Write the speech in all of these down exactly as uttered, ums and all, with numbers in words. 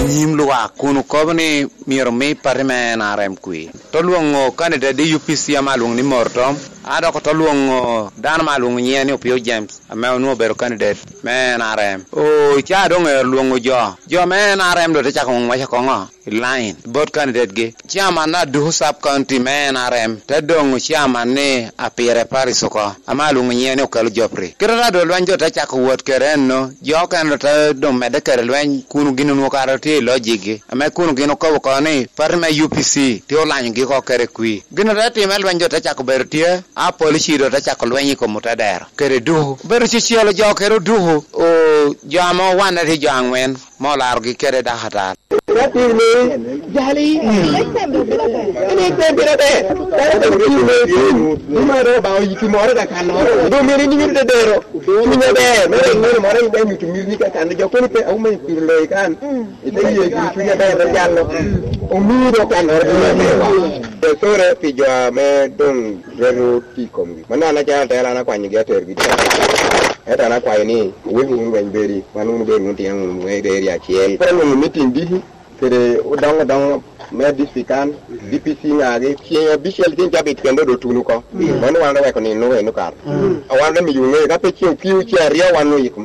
nyim lwak kun okobo ni myero omi pati me N R M kwir. Ote lwoŋo kandidet i U P C ame alwoŋo ni Mortom, a dok ote lwoŋo dano ame alwoŋo nyiŋe ni Opio James, ame onwoŋo obedo kandidet me N R M. Oo, ca doŋ ero lwoŋo jo. Jo me N R M doŋ te cako ŋwac akoŋo i line bot kandidet-gi. Chairman na Duhu Sub County me N R M te doŋo chairman ni Apire Paris oko, ame alwoŋo nyiŋe ni Okelo Jopri. Kite ata doŋ lweny doŋ te cako wot kede enno, jo okene doŋ te doŋ medde kede lweny, kun gin onwoŋo kare tye i lojikgi, ame kun gin okobo oko ni pati me U P C tye olanyogi oko kede kwir. Gin ote time, lweny doŋ te cako bedo tye, a polici doŋ te cako lweny i kom otedero kede Duhu. Obedo cecelo jo kede Duhu, o, jo ame owanne tye jo aŋwen, me olarogi kede dakatar. Ka piri ni, jali, en ikwem pire ber. Dano obedo piri ni, piri ni, ni ma dong Obaŋa oyiki moro ka kanno. Dong myero in inyuto dedero. Cunye ber, me rik moro moro in inyuto miri ni ka kanno. Jo kono pe, "Au, me piro loyi kan." Ite ye gin cunye ber, me jalo. Omiyi dong kannoro cunye ber. Sore pi jo ame dong reto tic komgi. Mano an acalo atela, an akwanyogi atergi. Ento an akwayo ni, wek wunu lweny bedi, wan wunu bed wunu tyen wunu me area acel. Koro onwoŋo meeting diki kede odoŋo odoŋo me district kan, D P C ŋagi, ceng abicel tin cabit kendo do tuno oko. Mano wan oweko nino eno kar. A wan ame miyo ŋeyo, ka pe ceng okio ceng aryo wan oyiko.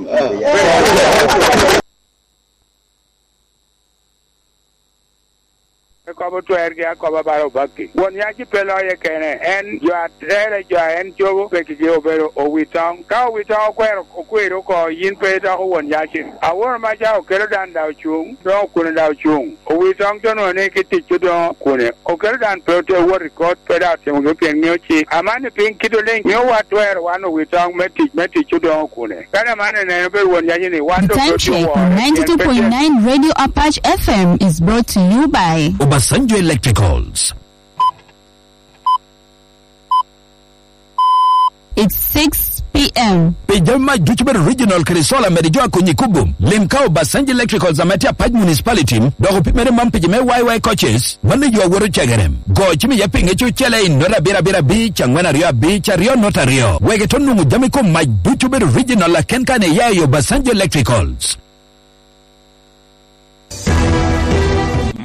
Ekobo twergi akoba bala obakki. Won yaci pe loye kene, en jo a tere jo a en cobo pekigi obedo owitoŋ. Ka owitoŋ okwero, okwero oko, yin pe idoko won yaci. Aworo maca okelo dan da ocuŋ, doŋ okune da ocuŋ. Owitoŋ to nwoŋo ni ki tic odoŋo kune. Okelo dan pe ote wot i kot, pe daŋ otimogi pien ŋeo cik. Amanni piny kit oliŋ mio wa twero wan owitoŋ me tic, me tic odoŋo kune. Kadi amanni neno bedo won yaci ni wan doŋ pe otye woro, pien pe tye ninety-two point nine Radio Apache F M is brought to you by Obasanjo Electricals. It's six p.m. Pi jami mac ducu bedo regional kede solar, mede jo a konyi kubo. Lim ka Obasanjo Electricals ame tye Apac Municipality, dok opimere man pi jo me Y Y coaches, mano yo awoto cegerem. Go cim iye pinge cucele i nota abiro abiro abic, angwen aryo abic, aryo nota aryo. Wek ito nwoŋo jami kom mac ducu bedo regional aken kan iya i Obasanjo Electricals.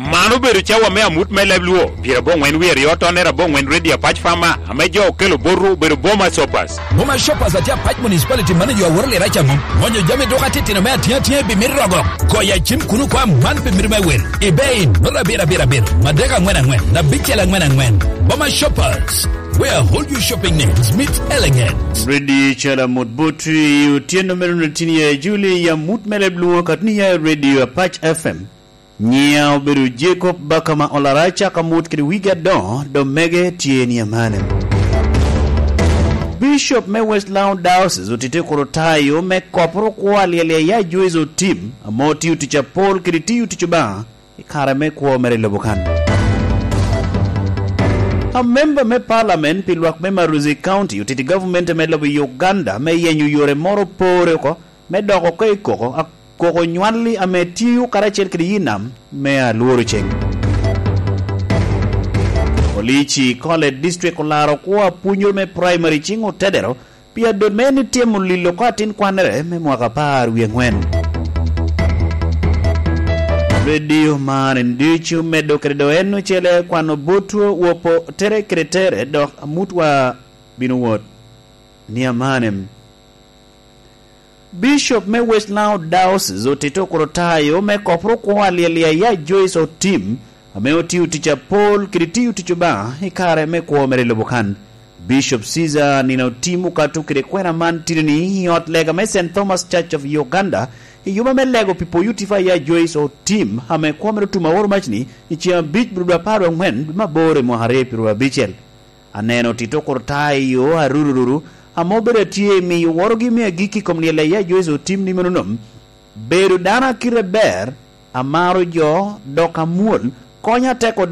Man obedo cawa me amut me leb Luo, pyerabongwen wie aryo tonere abongwen Radio Apac Farmer, ame jo okelo botwu obedo Boma Shoppers. Boma Shoppers atye Apac Municipality, mano yo aworo lira ca mom. Ŋonyo jami duka titino me atiŋa atiŋa i bimit rogo. Goyo acim kuno kwa man pi mito me wil. I bei, nota abiro abiro abiro, madek angwen angwen, abicel angwen angwen. Boma Shoppers, where all your shopping needs meet elegance. Radio Chala Mut Botwi, otyeno me runo tin ya Juli, ya mut me leb Luo katni ya Radio Apac F M. Nyiŋa obedo Jacob Bakama Olara, acaka mot kede wigi adoŋo, dok mege tye ni amanni. Bishop me West Lango Diocese otite kuro tayo me koporo kwo alyel ya Joyce Otim, ame otio tic apol kede tiyo tic Obaŋa i kare me kwo mere i lobo kan. Amemba me Parliament pi lwak me Maruzi County otito i gavumenti me lobo Uganda me yenyo yore moro pore oko me dok oko i koko, a-, koko nywalli ame tio karacel kede yi nam me alworo ceng. Police i College District olaro kwo apwonyere me primary cing otedero pi adot me en ityemo lilo oko atin kwannere me mwaka apar wie angwen. Radio man en ducu medo kede do en ocele kwano botwu wopo tere kede tere, dok amutwa bino wot ni amanem. Bishop me West Nile Diocese otito kuro tayo me koporo kwo alyel ya Joyce Otim, ame otio tic apol kede tiyo tic Obaŋa i kare me kwo mere i lobo kan. Bishop Caesar nino Otim okato kede kwena man titini i ot lega me Saint Thomas Church of Uganda, i yuma me lego pi poyo tipo a ya Joyce Otim, ame kwo mere otum aoro macni i ceŋ abic bulu dwe apar dwe angwen dwe me aboro i mwaka aryo pi ruu abicel. Aneno tito kuro tayo arurururu, ame obedo atye i miyo worogi me agikki i kom lyel a ya Joyce Otim ni meno nom. Bedo dano a kite ber, amaro jo, dok amwol, konya teko